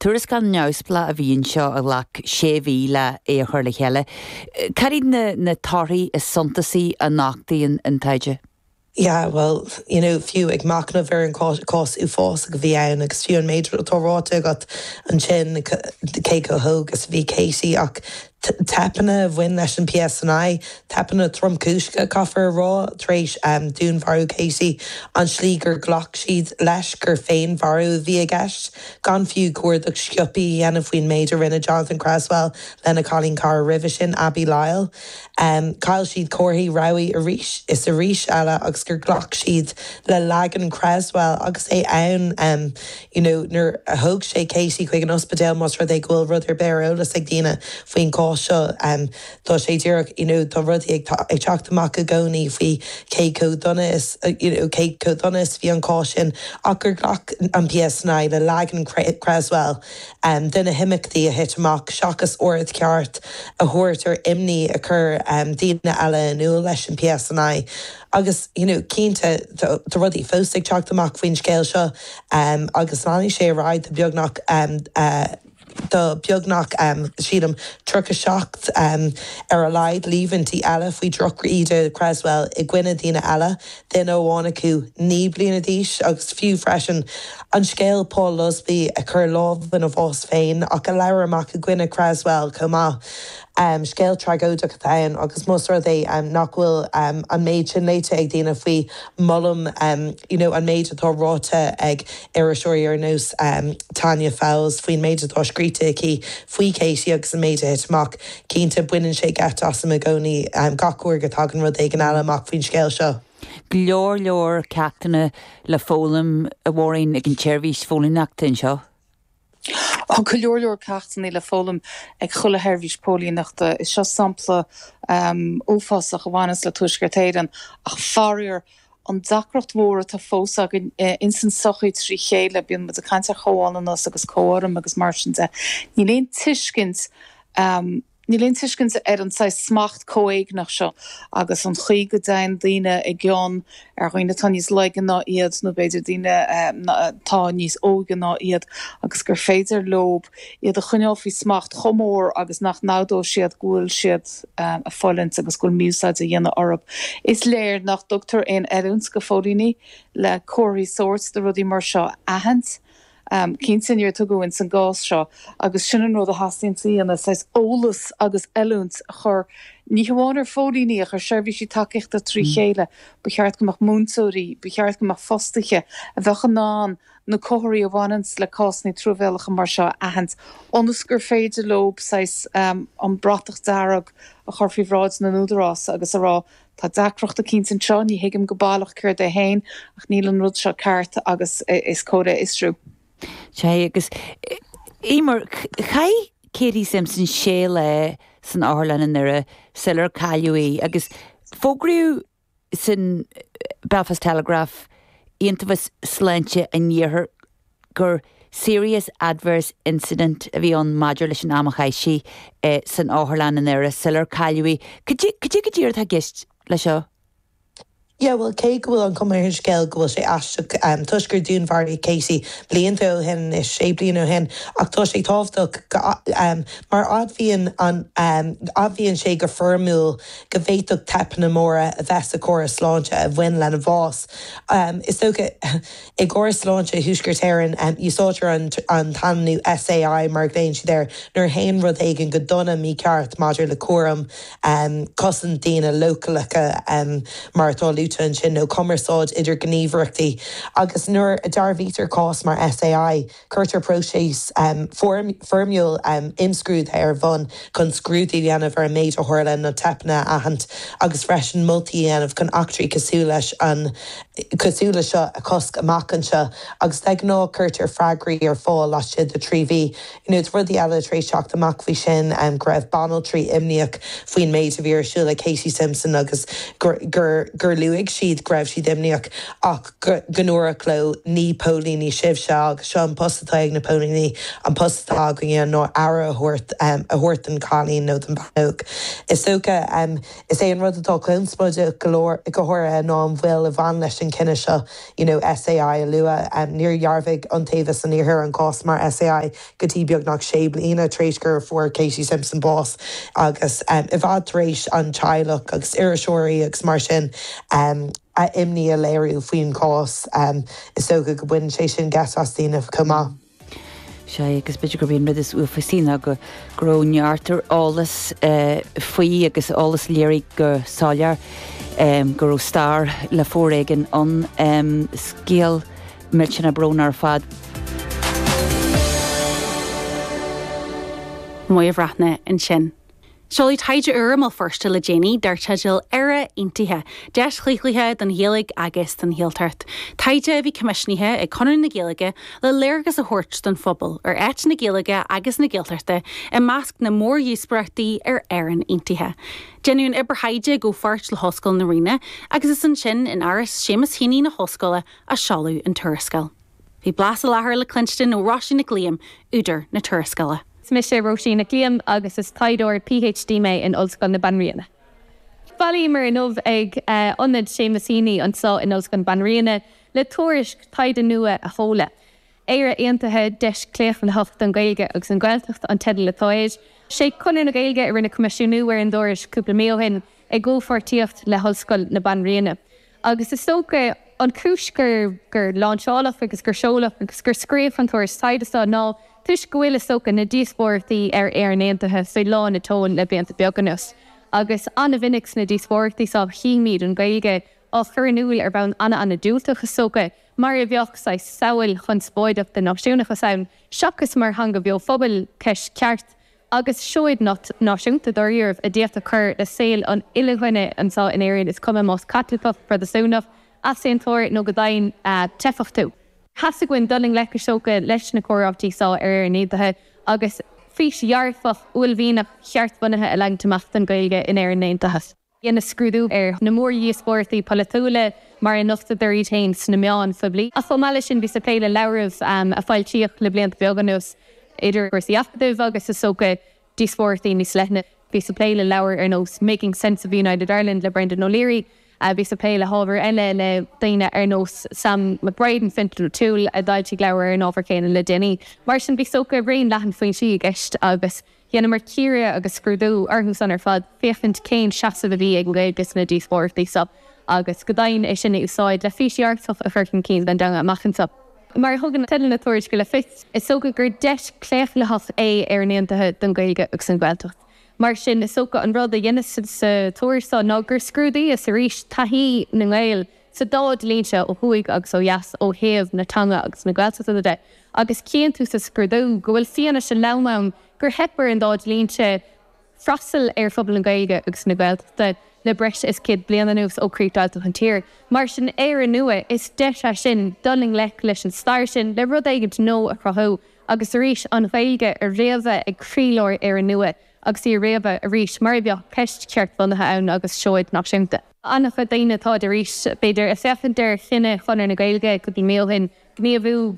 Tuarascáil neamhspleách a bhí anseo a ghlac sé mhí le é a chur le chéile. Cad iad na torthaí is suntasaí a nochtaíonn an taighde? Yeah, well, you know, fiú ag machnamh ar an cás uafásach a bhí ann agus fiú an méid atá ráite agat ansin, cé chomh hóg is a bhí Katie ach teipeanna a bhain leis an PSNI, teipeanna tromchúiseacha, caithfear a rá, tar éis dúnmharú Katie, an tslí gur ghlac siad leis gur féinmharú a bhí i gceist, gan fiú cuardach sciobtha a dhéanamh faoin méid a rinne Jonathan Cresswell lena chailín cara roimhe sin, Abi Lyle. Chaill siad comharthaí rabhaidh arís is arís eile agus gur ghlac siad le leagan Cresswell agus é ann you know nuair a thóg sé Katie chuig an ospidéal más rud é go bhfuil rud ar bith ar eolas ag daoine faoin gcás seo tá sé díreach you know tá rudaí ag ag teacht amach i gcónaí faoi cé chomh dona is you know cé chomh dona is bhí an cás sin ach gur ghlac an PSNI le leagan Cresswell de na himeachtaí a thit amach seachas aird cheart a thabhairt ar imní a chuir daoine eile in iúl leis an PSNI. Agus, you know, cinnte, tá rudaí fós ag teacht amach faoin scéal seo agus leanfaidh sé ar aghaidh do beagnach, do beagnach, sílim, 37 ar a laghad líomhaintí eile faoi dhroch-íde Cresswell i gcoinne daoine eile, duine amháin acu 9 bliana d'aois agus fiú freisin an scéal Paul Lusby a chuir lámh ina bhás féin ach a labhair amach i gcoinne Cresswell chomh maith. Scéal tragóideach atá ann agus más rud é nach bhfuil an méid sin léite ag daoine faoi, molaim you know an méid atá ráite ag iriseoirí ar nós Tanya Fowles faoin méid atá scríte aici faoi Katie agus an méid a thit amach. Cinnte, baineann sé geit asam i gcónaí gach uair go dtagann rud éigin eile amach faoin scéal seo. Go leor leor ceachtanna le foghlaim, a Mháirín, ag an tseirbhís phóilíneachta anseo. Tá go leor leor ceachtanna le foghlaim ag chuile sheirbhís póilíneachta. Is seo sampla uafásach a bhaineanns le Tuaisceart Éireann ach faraor, an deacracht mhór atá fós againn ins an tsochaí trí chéile, bíonn muid ag caint ar chomhionannas agus comhurraim agus mar sin de, níl aon tuiscint, Níl aon tuiscint ar an saghas smacht comhéigneach seo agus an chaoi go dtéann daoine i gcion ar dhaoine atá níos laige ná iad nó b'fhéidir daoine atá níos óige ná iad agus gur féidir leob iad a choinneáil faoi smacht chomh mór agus nach n-admhóidh siad go bhfuil siad ag fulaingt agus go bhfuil mí-úsáid á dhéanamh orthu. Is léir nach dtugtar aon oiliúint go phóilíní le comharthaí sóirt de rudaí mar seo a aithint. Cinnte níor tugadh ins an gcás seo agus sin an rud a theastaíonn a dhéanamh, saghas eolas agus oiliúint a chur ní hamháin ar phóilíní ach ar seirbhísí tacaíochta trí chéile. Ba cheart go mbeadh múinteoirí, ba cheart go mbeadh fostaithe a bheadh in ann na comharthaí a bhaineanns le cásanna truamhéalacha mar seo a aithint ionas gur féidir leob saghas an bratach dearg a chur faoi bhráid na n-údarás agus a rá Tá deacracht eicínt anseo, ní thuigim go baileach céard é féin, ach níl an rud seo ceart agus is cóir é a fhiosrú. Sea, agus Eimear, chaith Katie Simpson sé lá san otharlann i nDoire sular cailleadh í agus fógraíodh san Belfast Telegraph, Iontaobhas Sláinte an Iarthair, gur serious adverse incident a bhí ann maidir leis an am a chaith sí san otharlann i nDoire sular cailleadh í. Cad é go díreach atá i gceist leis seo? Yeah, bhuel, cé go bhfuil an chuma ar an scéal go bhfuil sé aisteach toisc gur dúnmharaíodh Katie blianta ó shin anois, sé bliana ó shin, ach tá sé tábhachtach go mar admhaíonn an admhaíonn sé go foirmiúil go bhféadfadh teipeanna móra a bheith sa chóras sláinte a bhain lena bhás. Is dócha. I gcóras sláinte Thuaisceart Éireann, úsáidtear an t-ainmniú SAI, mar a ghlaonn siad air, nuair a théann rud éigin go dona mícheart maidir le cúram, cosaint daoine leochaileacha, mar atá luaite ansin, nó cumarsáid idir gníomhaireachtaí. Agus nuair a dearbhaítear cás mar SAI, Cuirtear próiseas foirmiúil imscrúdaithe ar bun chun scrúdú a dhéanamh ar an méid a tharla, na teipeanna a aithint agus freisin moltaí a dhéanamh chun eachtraí cosúil leis an cosúil le seo a chosc amach anseo agus de ghnáth cuirtear freagraí ar fáil laistigh de 3 mhí. You know, tá rudaí eile tar éis teacht amach faoi sin, go raibh banaltraí imníoch faoin méid a bhí ar siúl ag Katie Simpson agus gur gur gur luaigh. luaigh siad go raibh siad imníoch ach go ndúradh leo ní póilíní sibhse agus seo an post atá ag na póilíní, an post atá againne ná aire a thabhairt a thabhairt don chailín nó don bhean óg. Is dócha, is é an rud atá conspóideach go leor, go háirithe ná an mhoill a bhain leis an cinneadh seo you know SAI a lua. Níor dhearbhaigh Iontaobhas an Iarthair an cás mar SAI go dtí beagnach sé bliana tar éis gur fuair Katie Simpson bás agus i bhfad tar éis an teaghlach agus iriseoirí agus mar sin a imní a léiriú faoin chás. Is dócha go mbaineann sé sin geit as daoine chomh maith. Sea, agus b'fhéidir gurb é an rud is uafásaí ná go raibh neart ar eolas faoi agus eolas a léirigh go soiléir go raibh stair le foréigean ann. Scéal millteanach brónach ar fad. Moya Bhreathnaigh ansin. Seoladh taighde úr i mBéal Feirste le déanaí dar teideal Éire Aontaithe, Deis Chlaochlaithe don Ghaeilge agus don Ghaeltacht. Taighde a bhí coimisiúnaithe ag Conradh na Gaeilge le léargas a thabhairt don phobal ar áit na Gaeilge agus na Gaeltachta i measc na mórdhíospóireachtaí ar Éirinn Aontaithe. Deineadh an obair thaighde i gcomhpháirt le hOllscoil na Ríona agus is ansin in Áras Séamus Heaney na hOllscoile a seoladh an tuarascáil. Bhí blas na láthair le cluinstin ó Róisín Nic Liam, údar na tuarascála. Is mise Róisín Nic Liam agus is taighdeoir PhD mé in Ollscoil na Banríona. Bhailíomar inniu ag Ionad Séamus Heaney anseo in Ollscoil na Banríona le tuairisc taighde nua a sheoladh. Éire Aontaithe, Deis Chlaochlaitheach don Ghaeilge agus an Ghaeltacht an teideal atá air. Sé Conradh na Gaeilge a rinne coimisiúnú ar an dtuairisc cúpla mí ó shin i gcomhpháirtíocht le hOllscoil na Banríona. Agus is dócha an chúis gur gur láinseáladh agus gur seoladh agus gur scríobhadh an tuairisc taighde seo ná toisc go bhfuil, is dócha, na díospóireachtaí ar Éirinn Aontaithe faoi lán a tseoil le blianta beaga anuas. Agus an-mhinic sna díospóireachtaí seo chímid an Ghaeilge á chur in iúl ar bhonn ana-ana-diúltach, is dócha, mar a bheadh saghas samhail chonspóideach den náisiúnachas ann, seachas mar theanga bheo phobail, ceist cheart agus seoid náisiúnta dáiríribh a d'fhéadfadh cur le saol an uile dhuine anseo in Éirinn, is cuma más Caitliceach, Protastúnach, Easaontóir nó go deimhin teifeach tú. Theastaigh uainn dul i ngleic is dócha leis na comhráití seo ar Éirinn Aontaithe agus fís dhearfach, uaillmhianach, cheartbhunaithe a leagaint amach don Ghaeilge in Éirinn Aontaithe. Dheineas scrúdú ar na mórdhíospóireachtaí polaitiúla mar a nochtadar iad féin sna meáin phoiblí. Ach chomh maith leis sin bhíos ag plé le leabhraibh a foilsíodh le blianta beaga anuas, idir chúrsaí acadaimh agus, is dócha, díospóireachtaí níos leithne. Bhíos ag plé le leabhair ar nós Making Sense of a United Ireland le Brendan O'Leary. Bhíos ag plé le hábhair eile le daoine ar nós Sam McBride and Fintan O'Toole a d'fhoilsigh leabhar ar an ábhar céanna le déanaí. Mar sin bhí, is dócha, raon leathan foinsí i gceist agus Dheineamar cíoradh agus scrúdú orthu san ar fad féachaint cén seasamh a bhí ag an Ghaeilge sna díospóireachtaí seo agus go deimhin é sin a úsáid le fís dhearfach a chur chun cinn don dteanga amach anseo. Mar a thugann teideal na tuairisce le fios, is dócha gur deis claochlaitheach é Éirinn Aontaithe don Ghaeilge agus an Ghaeltacht. Mar sin, is dócha an rud a dheineas sa tuairisc seo ná gur scrúdaíos arís taithí na nGael sa dá dlínse, ó thuaidh agus ó dheas, ó thaobh na teanga agus na Gaeltachta de, agus chíonn tú sa scrúdú go bhfuil fianaise lom ann gur theip ar an dá dlínse freastal ar phobal na Gaeilge agus na Gaeltachta le breis is 100 bliain anuas ó críochdheighilt an tír. Mar sin, Éire nua, is deis é sin dul i ngleic leis an stair sin, le rud éigint nua a chruthú agus arís an Ghaeilge a fhréamhadh ag croílár Éire nua agus í a fhréamhadh arís mar a bheadh ceist cheartbhunaithe ann agus seoid náisiúnta. An-chuid daoine atáid arís, b'fhéidir, ag féachaint ar chinneadh Chonradh na Gaeilge cúpla mí ó shin gníomhú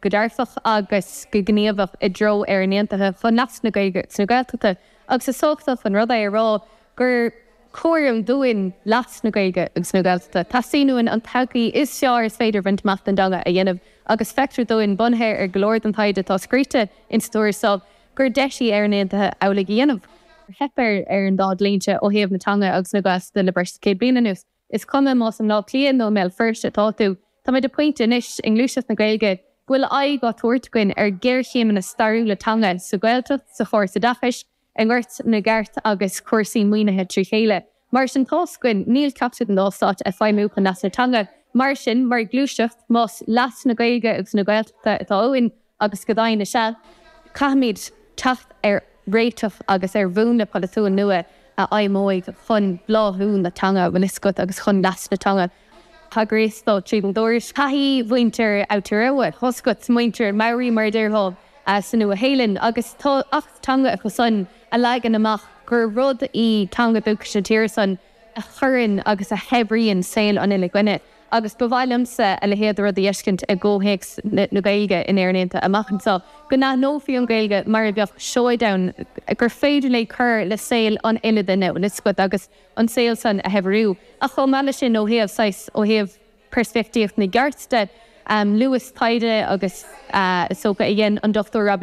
go dearfach agus go gníomhach i dtreo Éirinn Aontaithe chun leas na Gaeilge agus na Gaeltachta agus is tábhachtach an rud é a rá gur cúram dúinn leas na Gaeilge agus na Gaeltachta. Teastaíonn uainn an todhchaí is fearr is féidir a bhaint amach don dteanga a dhéanamh agus feictear dúinn, bunaithe ar go leor den taighde atá scríte insa tuairisc seo, gur deis í Éirinn Aontaithe amhlaidh a dhéanamh. Theip ar an dá dlínse ó thaobh na teanga agus na Gaeltachta le breis is 100 bliain anuas. Is cuma más i mBleá Cliath nó i mBéal Feirste atá tú, táimid ag pointe anois i ngluaiseacht na Gaeilge go bhfuil aghaidh á tabhairt againn ar ghéarchéimeanna stairiúla teanga sa Ghaeltacht, sa chóras oideachais, i ngort na gceart agus cúrsaí maoinithe trí chéile. Mar sin tá's againn, níl ceachtar den dá stát ag feidhmiú chun leas na teanga. Mar sin, mar ghluaiseacht, más leas na Gaeilge agus na Gaeltachta atá uainn, agus go deimhin is ea, caithfimid teacht ar réiteach agus ar mhúnla polaitiúil nua a fheidhmeoidh chun bláthú na teanga, bhfuil fhios agat, agus chun leas na teanga. Thagraíos dó tríd an dtuairisc. Taithí mhuintir Aotearoa, tá's agat, muintir Maori mar a déarfá, sa Nua-Shéalainn, agus tá acht teanga acu san a leagann amach gur rud í teanga dúchais na tíre san. a chuireann agus a shaibhríonn saol an uile dhuine agus ba mhaith liomsa a leithéid de rud a fheiscint i gcomhthéacs na Gaeilge in Éirinn Aontaithe amach anseo, go n-aithneofaí an Ghaeilge mar a bheadh seoid ann gur féidir léi cur le saol an uile duine, bhfuil fhios agat, agus an saol san a shaibhriú. Ach chomh maith leis sin, ó thaobh saghas, ó thaobh peirspictíocht na gceart de, luas taighde agus is dócha a dhein an Dr.